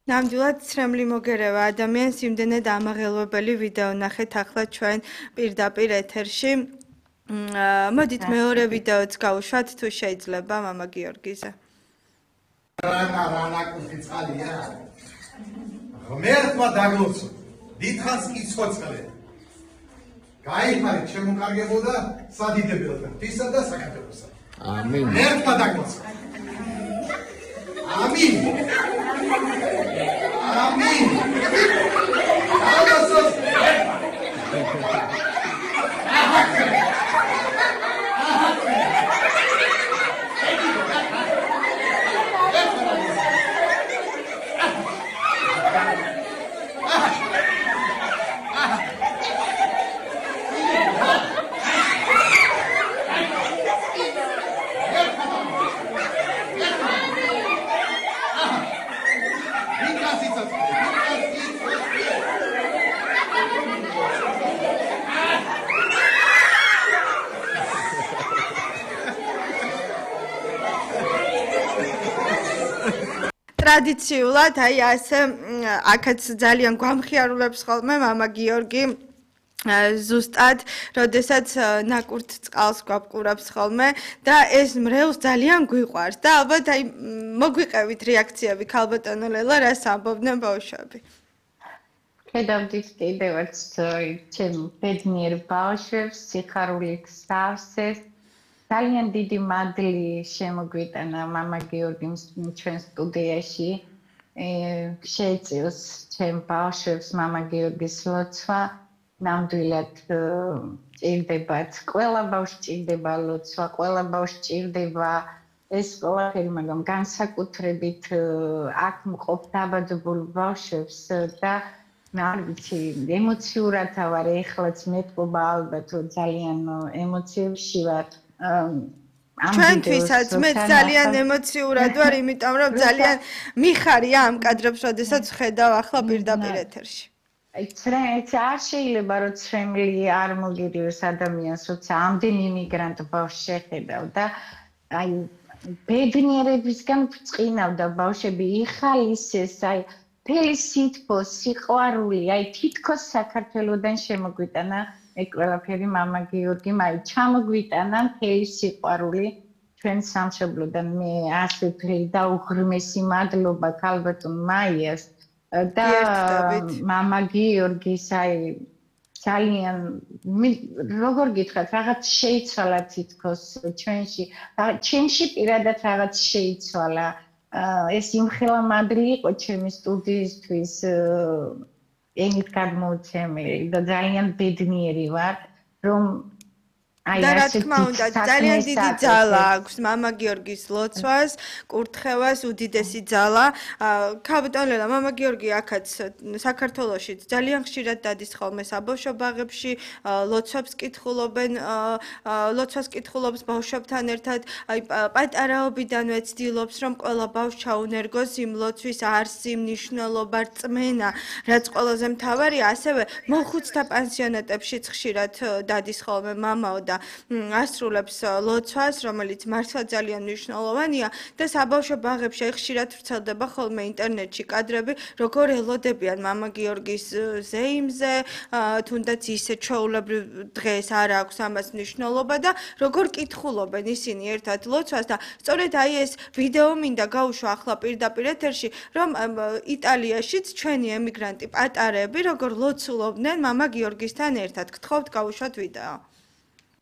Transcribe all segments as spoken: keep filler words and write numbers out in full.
ნამდვილად ცრემლი მოგერევა ადამიანს იმდენად ამაღელვებელი ვიდეო ნახეთ ახლა ჩვენ პირდაპირ ეთერში. მოდით მეორე ვიდეოც გავუშვათ თუ შეიძლება მამა გიორგიზე. რანა რანა კუთხი წყალია. ღმერთმა დაგლოცო. დიდხანს იცოცხლე. გაიხარე შემოკარგებოდა სადიდებელთან თისა და საქართველოსა. ამინ. ღმერთმა დაგლოცო. ამინ. Amin. Allah'ım. ტრადიციულად აი ასე აქაც ძალიან გვამხიარულებს ხოლმე მამა გიორგი ზუსტად, როდესაც ნაკურთ წყალს გვაბყურებს ხოლმე და ეს მრევლს ძალიან გვიყვარს და ალბათ აი მოგვიყევით რეაქციები ქალბატონო ლელა, რას ამბობდნენ ბავშვები. ხედავდით კიდევაც ჩემ ბედნიერ ბავშვებს, სიხარულით სავსეს. ძალიან დიდი მადლი შემოგვიტანა მამა გიორგიმ ჩვენ სტუდიაში. შეეწიოს ჩემ ბავშვებს მამა გიორგის ლოცვა. ნამდვილად ჭირდებათ. ყველა ბავშვს ჭირდება ლოცვა, ყველა ბავშვს ჭირდება ეს ყველაფერი, მაგრამ განსაკუთრებით აქ მყოფ დაბადებულ ბავშვებს და არ ვიცი, ემოციურად ვარ ეხლაც მეთქობა ალბათ რომ ძალიან ემოციებში ვარ. ჩვენთვისაც მე ძალიან ემოციურად ვარ, იმიტომ რომ ძალიან მიხარია ამ კადრებს, როდესაც ხედავ ახლა პირდაპირ ეთერში. აი, ცრემლი არ შეიძლება რომ ცრემლი არ მოგირიოს ადამიანს, როცა ამდენ იმიგრანტ ბავშვს შეხედავ და აი ბედნიერებისგან ბრწყინავდა ბავშვები, იხალისეს, აი მთელი სითბო, სიყვარული, აი თითქოს საქართველოდან შემოგვიტანა ეგ ყველაფერი მამა გიორგიმ აი ჩამოგვიტანა მთელი სიყვარული ჩვენ სამშობლოდან. მე ასე მთელი და უღრმესი მადლობა ქალბატონ მაიას და მამა გიორგის აი ძალიან როგორ გითხრათ, რაღაც შეიცვალა თითქოს ჩვენში, ჩვენში პირადად რაღაც შეიცვალა. ეს იმხელა მადლი იყო ჩემი სტუდიისთვის ენით გადმოუცემელი და ძალიან ბედნიერი ვარ, რომ აი და რა თქმა უნდა, ძალიან დიდი ძალა აქვს მამა გიორგის ლოცვას, კურთხევას, უდიდესი ძალა. ქალბატონ ლელა, მამა გიორგი აქაც საქართველოშიც ძალიან ხშირად დადის ხოლმე საბავშვო ბაღებში, ლოცვებს კითხულობენ, ლოცვას კითხულობს ბავშვებთან ერთად. აი პატარაობიდანვე ცდილობს, რომ ყველა ბავშვი ჩაუნერგოს იმ ლოცვის არსი, მნიშვნელობა, რწმენა, რაც ყველაზე მთავარია, ასევე მოხუცთა პანსიონატებშიც ხშირად დადის ხოლმე მამაო და ასრულებს ლოცვას, რომელიც მართლა ძალიან მნიშვნელოვანია და საბავშვო ბაღებში ხშირად ვრცელდება ხოლმე ინტერნეტში კადრები, როგორ ელოდებიან მამა გიორგის ზეიმზე, თუნდაც ისე ჩვეულებრივ დღეს არ აქვს ამას მნიშვნელობა და როგორ კითხულობენ ისინი ერთად ლოცვას და სწორედ აი ეს ვიდეო მინდა გავუშვა ახლა პირდაპირ ეთერში, რომ იტალიაშიც ჩვენი ემიგრანტი პატარები როგორ ლოცულობდნენ მამა გიორგისთან ერთად. გთხოვთ გავუშვათ ვიდეო.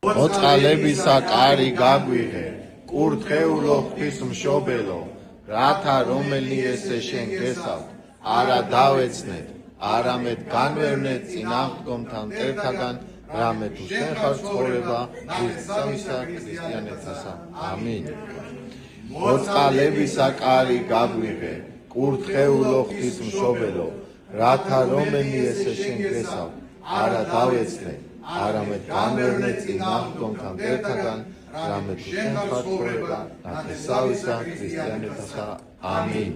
ოწყალებისა კარი გაგვიღე, კურთხეულო ღვთისმშობელო, რათა რომელი ესე შენ გესავთ, არა დავეცნეთ, არამედ განვევნეთ წინააღმდგომთან ერთაგან, რამე თუ შენ ხარ ცხოვრება ქრისტესა ქრისტიანეთასა. ამინ. ოწყალებისა კარი გაგვიღე, კურთხეულო ღვთისმშობელო, რათა რომელი ესე შენ გესავთ, არა დავეცნეთ, არამედ განვევნეთ წინააღმდგომთან ერთაგან, რამე თუ შენ ხარ ცხოვრება ნათესავისა ქრისტიანეთასა. ამინ.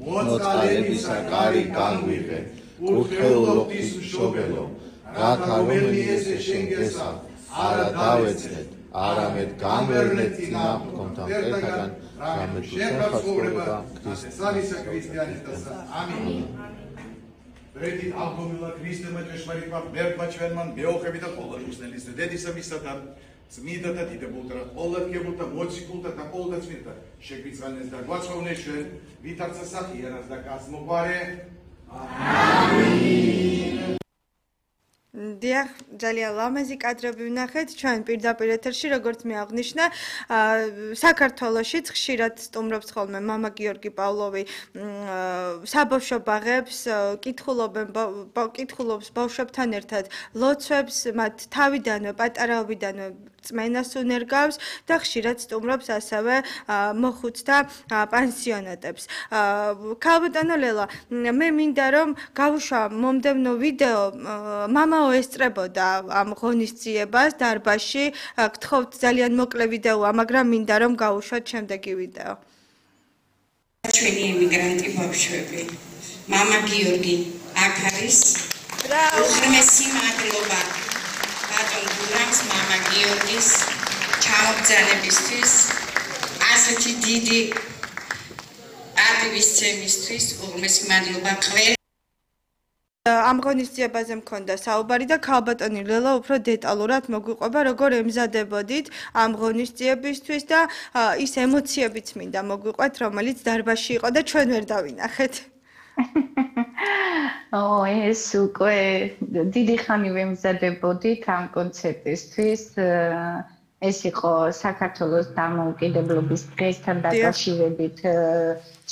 მოწყალებისა კარი გაგვიღე, კურთხეულო ღვთისმშობელო, რათა რომელი ესე შენ გესავთ, არა დავეცნეთ, არამედ განვევნეთ წინააღმდგომთან ერთაგან, რამე შეფა ცხოვრება ქრისტესალისა ქრისტიანისთასა ამინ ვერდი ალბომილა ქრისტემა ჭეშმარიტმა მერტმა ჩვენმან მეოხები და ყოველ მუსლიმის დედისა მისათან წმინდა და დიდებულთა ყოველგებულთა მოციქულთა და ყოველთა წმინდა შეგვიწყალეს და გვაცხოვნეს ჩვენ ვითარცა სახიანას და გასმოგვარე ამინ დიახ, ძალიან ლამაზი კადრები ვნახეთ ჩვენ პირდაპირ ეთერში, როგორც მე აღნიშნა, საქართველოშიც ხშირად სტუმრობს ხოლმე მამა გიორგი პავლოვი საბავშვო ბაღებს, კითხულობენ კითხულობს ბავშვებთან ერთად ლოცვებს, მათ თავიდანვე, პატარაობიდანვე წმენას უნერგავს და ხშირად სტუმრობს ასევე მოხუცთა პანსიონატებს. ქალბატონო ლელა, მე მინდა რომ გავუშვა მომდევნო ვიდეო მამა ესწრებოდა ამ ღონისძიებას დარბაზში. გთხოვთ ძალიან მოკლე ვიდეოა, მაგრამ მინდა რომ გავუშვათ შემდეგი ვიდეო. ჩვენი ემიგრანტი ბავშვები. მამა გიორგი აქ არის. უღრმესი მადლობა ბატონ გურამს მამა გიორგის ჩამოგზავნებისთვის, ასეთი დიდი აქტივისტებისთვის უღრმესი მადლობა ყველ ამ ღონისძიებაზე მქონდა საუბარი და ქალბატონი ლელა უფრო დეტალურად მოგვიყვება, როგორ ემზადებოდით ამ ღონისძიებისთვის და ის ემოციებიც მინდა მოგვიყვეთ, რომელიც დარბაზში იყო და ჩვენ ვერ დავინახეთ. ო, ეს უკვე დიდი ხანი ვემზადებოდით ამ კონცერტისთვის. ეს იყო საქართველოს დამოუკიდებლობის დღესთან დაკავშირებით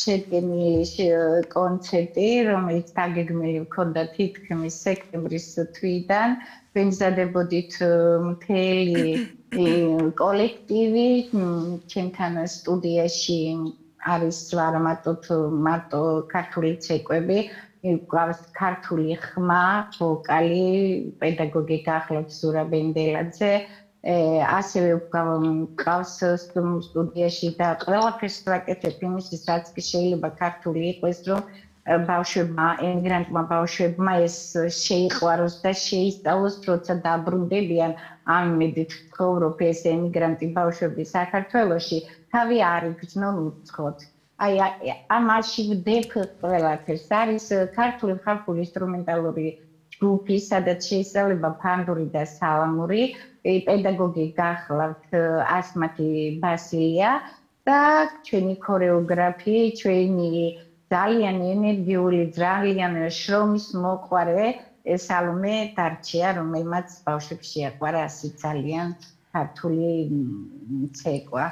შედგენილი კონცერტი, რომელიც დაგეგმილი ჰქონდა თითქმის სექტემბრის თვიდან. ვემზადებოდით მთელი კოლექტივი, ჩემთან სტუდიაში არის არა მარტო ქართული ცეკვები, გვაქვს ქართული ხმა, ვოკალი, პედაგოგი გახლავთ ზურაბ ენდელაძე. ასევე გვყავს სტუდიაში და ყველაფერს ვაკეთებ იმისთვის, რაც კი შეიძლება ქართული იყოს, რომ ბავშვებმა, ემიგრანტმა ბავშვებმა ეს შეიყვაროს და შეისწავლოს, როცა დაბრუნდებიან. ამ იმედით ვცხოვრობ, ეს ემიგრანტი ბავშვები საქართველოში თავი არ იგრძნონ უცხოდ. აი ამაში ვდებ ყველაფერს. არის ქართული ხალხური ინსტრუმენტალური ჯგუფი, სადაც შეისწავლება ფანდური და სალამური. პედაგოგი გახლავთ ასმათი ბასილია და ჩვენი ქორეოგრაფი, ჩვენი ძალიან ენერგიული, ძალიან შრომის მოყვარე სალომე დარჩია, რომელმაც ბავშვებს შეაყვარა ასი ძალიან ქართული ცეკვა.